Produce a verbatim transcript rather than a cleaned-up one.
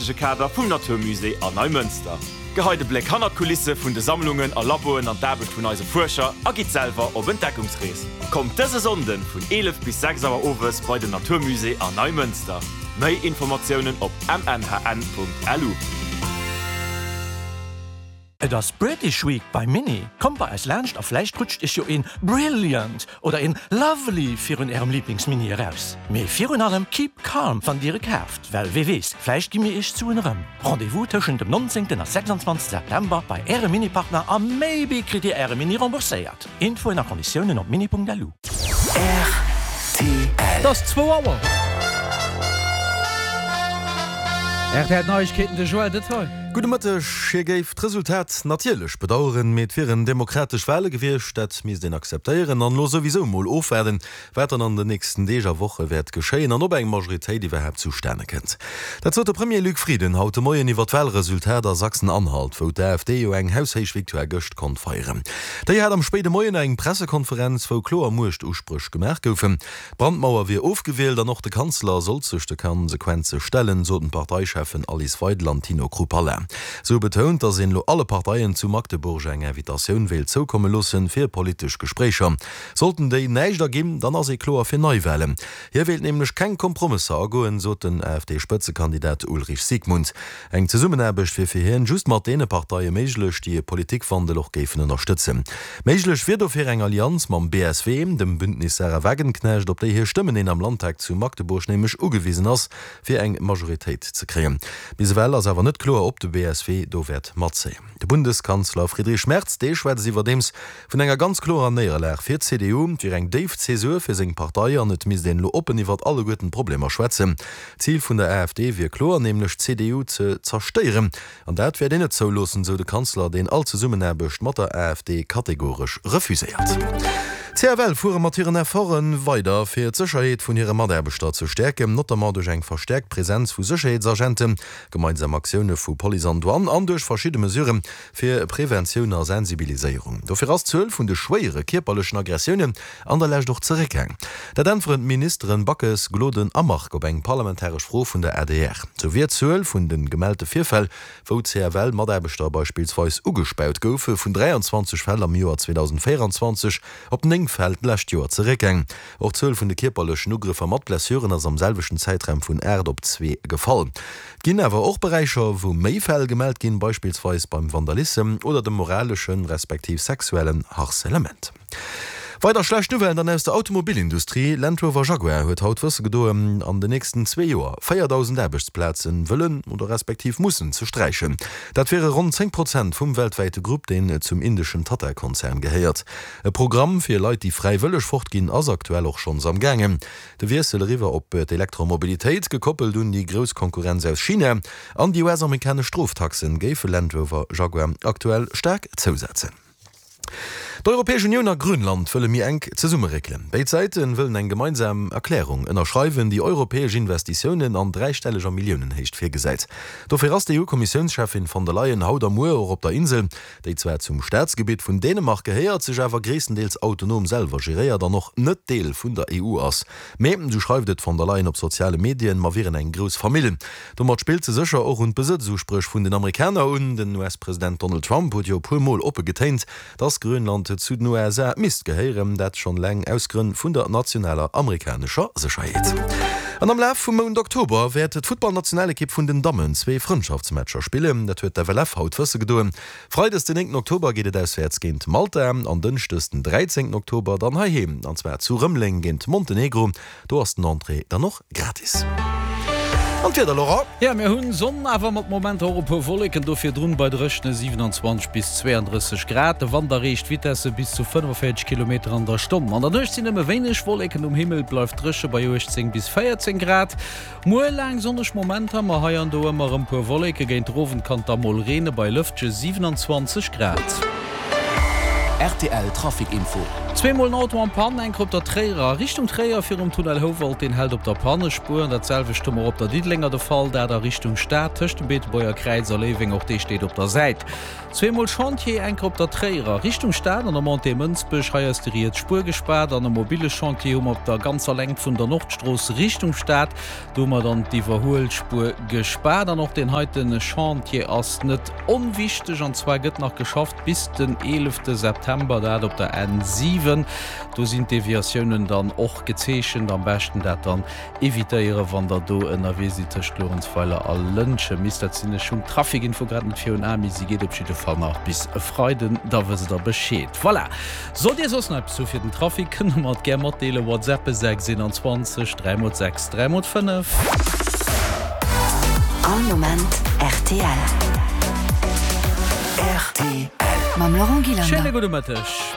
witzege Kader vum Natur Musée an Neimënster. Geheit e Bléck hannert d'Kulisse vun de Sammlungen a Laboen an d'Aarbecht vun eise Fuerscher a gitt selwer op Entdeckungsrees. Kommt dëse Sonnden vun eelef bis sechs Auer owes bei den Natur Musée an Neimënster. Méi Informatiounen op mnhn.lu. Et ass British Week bei Mini. Kommt bei eis laanscht a vläicht rutscht iech jo een Brilliant oder een Lovely virun ärem Lieblingsmini eraus. Mee virun allem keep calm wann dir e kaaft, well wie weess, vläicht gi mir iech d'Suen erëm. Rendez-vous tëschent dem nonzéngten a sechsundzwanzegste September bei ärem Mini-Partner a maybe kritt dir äre Mini rembourséiert. Infoen a Konditiounen op mini Punkt L U. R T L. Et ass zwou Auer. R T L Neiegkeeten, de Joël Detail. Gudde Mëtteg. Hie géif d'Resultat natierlech bedaueren, mee et wieren demokratesch Wale gewiescht, dat misst een akzeptéieren an elo souwisou mol ofwaarden, wat dann an den nächsten Deeg a Woche wäert geschéien an ob eng Majoritéit iwwerhaapt zustane kënnt. Dat sot de Premier Luc Frieden haut de Moien iwwer d'Walresultat a Sachsen-Anhalt, wou d'A F D jo eng haushéich Victoire gëscht konnt feieren. Déi hat am spéide Moien eng Pressekonferenz, wou kloer Muechtuspréch gemaach goufen. D'Brandmauer wier ofgewielt an och de Kanzler sollt sech de Konsequenze stellen, soten d'Parteicheffen Alice Weidel an Tino Chrupalla. Si hu betount, datt een elo alle Parteien zu Magdeburg eng Invitatioun wéilt zoukomme loossen fir politesch Gespréicher. Sollten déi näischt erginn, dann ass ee kloer fir Neiwalen. Hie wéilt nämlech keng Kompromësser agoen, sot den A F D-Spëtzekandidat Ulrich Siegmund. Eng Zesummenaarbecht wier fir hien just mat deene Parteie méiglech, déi e Politikwandel och géifen ënnerstëtzen. Méiglech wier dofir eng Allianz mam B S W, dem Bündnis Sahra Wagenknecht, op déi hir Stëmmen een am Landtag zu Magdeburg nämlech ugewisen ass, fir eng Majoritéit ze kréien. Bis ewell ass awer net kloer, ob de B S W do wäert matzéien. De Bundeskanzler Friedrich Merz, dee schwätzt iwwerdeems vun enger ganz klorer Néierlag fir d'C D U, et wier eng déif Zäsur fir seng Partei an et misst een elo oppen iwwert alleguerten d'Problemer schwätzen. D'Zil vun der A F D wier kloer, nämlech d'C D U ze zerstéieren. An dat wäert een net zouloossen, sou de Kanzler, deen all Zesummenaarbecht mat der A F D kategoresch refuséiert. D'C F L fuere mat hiren Efforte weider, fir d'Sécherheet vun hire Mataarbechter ze stäerken, notamment duerch eng verstäerkt Presenz vu Sécherheetsagenten, gemeinsam Aktioune vu Police an Douane an duerch verschidde Mesurë fir Preventioun a Sensibiliséierung. Dofir ass d'Zuel vun de schwéiere kierperlechen Aggressiounen an der Lescht och zeréckgaang. Dat äntweren d'Ministeren Backes, Gloden a Margue op eng parlamentaresch Fro vun der A D R. Sou wier d'Zuel vun de gemellte Virfäll, wou C F L-Mataarbechter beispillsweis ugespaut goufe, vun dräianzwanzeg Fäll am Joer zweedausendvéieranzwanzeg op néng Fäll d'lescht Joer zeréckgaang. Och d'Zuel vun de kierperlechen Ugrëffer mat Blessuren ass am selwechten Zäitraum vun aacht op zwee gefall. Et ginn awer och Beräicher, wou méi Fäll gemellt ginn, beispillsweis beim Vandalissem oder dem moraleschen, respektiv sexuellen Harcèlement. Weider schlecht Nouvellen dann aus der Automobilindustrie, Land Rover Jaguar huet haut wësse gedoen, an den nächsten zwee Joer véierdausend Aarbechtsplazen wëllen oder respektiv mussen ze sträichen. Dat wiere ronn zéng Prozent vum weltwäite Grupp, deen zum indeschen Tata-Konzern gehéiert. E Programm fir Leit, déi fräiwëlleg fortginn, ass aktuell och schonns am gaangen. De Wiessel eriwwer op d'Elektromobilitéit, gekoppelt un déi grouss Konkurrenz aus China an déi U S-amerikanesch Stroftaxen, géife Land Rover Jaguar aktuell staark zousetzen. D'Europäesch Unioun a Grönland wëlle méi enk zesummeréckelen. Béid Säite wëllen eng gemeinsam Erklärung ënnerschreiwen, déi europäesch Investitiounen an dräistelleger Milliounenhéicht virgesäit. Dofir ass d'E U-Kommissiounscheffin von der Leyen haut a muer och op der Insel, déi zwar zum Staatsgebitt vun Dänemark gehéiert, sech awer gréisstendeels autonom selwer geréiert an och net Deel vun der E U ass. Mee, sou schreift et d'von der Leyen op soziale Medien, mer wieren eng grouss Famill. Domat spillt se sécher och un d'Besëtzuspréch vun den Amerikaner un. Den U S-President Donald Trump huet jo e puer Mol oppe getéint, dass Grönland zu den U S A misst gehéieren, dat schonn eleng aus Grënn vun der nationaler amerikanescher Sécherheet. An am Laf vum Mount Oktober wäert d'Futtballnationalekipp vun den Dammen zwee Frëndschaftsmatcher spillen, dat huet d'F L F haut wësse gedoen. Freides den néngten Oktober geet et auswäerts géint Malta an dënschdes den dräizéngten Oktober dann heiheem, an zwar zu Rëmeleng géint Montenegro. Do ass den Entrée dann och gratis. An d'Wieder, Laurent? Jo, mir hunn Sonn, awer mat Momenter och e puer Wolleken, do virdrun bei dréchene siewenundzwanzeg bis zweeandrësseg Grad. De Wand erreecht Vitesse bis zu fënnefenvéierzeg Kilometer an der Stonn. An der Nuecht sinn nëmme wéineg Wolleken um Himmel, et bleift dréche bei uechtzéng bis véierzéng Grad. Muer laang sonneg Momenter, ma hei an do ëmmer erëm puer Wolleken. Géint den Owend kann et da mol reene bei lëftege siewenundzwanzeg Grad. Rtl Trafic Info. Zweemol en Auto en Panne, eng op der Tréierer a Richtung Tréier virum Tunnel Houwald, deen hält op der Pannespuer. An dat selwecht hu mer op der Diddelenger de Fall, dat a Richtung Stad tëscht dem Beetebuerger Kräiz a Léiweng, och dee steet op der Säit. Zweemol Chantier, eng op der Tréierer Richtung Stad an der Montée Mënsbech, hei ass déi riets Spuer gespaart. An e mobile Chantier hu mer op der ganzer Längt vun der Nordstrooss Richtung Stad, do hu mer dann d'Iwwerhuelspuer gespaart. An och deen heite Chantier ass net onwichteg, an zwar gëtt nach geschafft bis den eelefte September, dat op der N siwen. Do sinn d'Deviatiounen dann och gezeechent. Am beschten dat dann evitéieren, wann der do ënnerwee sidd tëscht Luerenzweiler a Lëntgen. Misst dat sinn, ech hunn d'Traficinfo grad net virun Aen, mee si geet op jidde Fall nach bis e Freiden, da wësst der Bescheed. Voilà! Sollt Dir soss nach eppes hu fir den Trafic, kënnt der mer et gär matdeelen, WhatsAppe sechs eenanzwanzeg dräi mol sechs dräi mol fënnef. All Moment rtl. Rtl. Mam Laurent Gillander. Schéine gudde Mëtteg.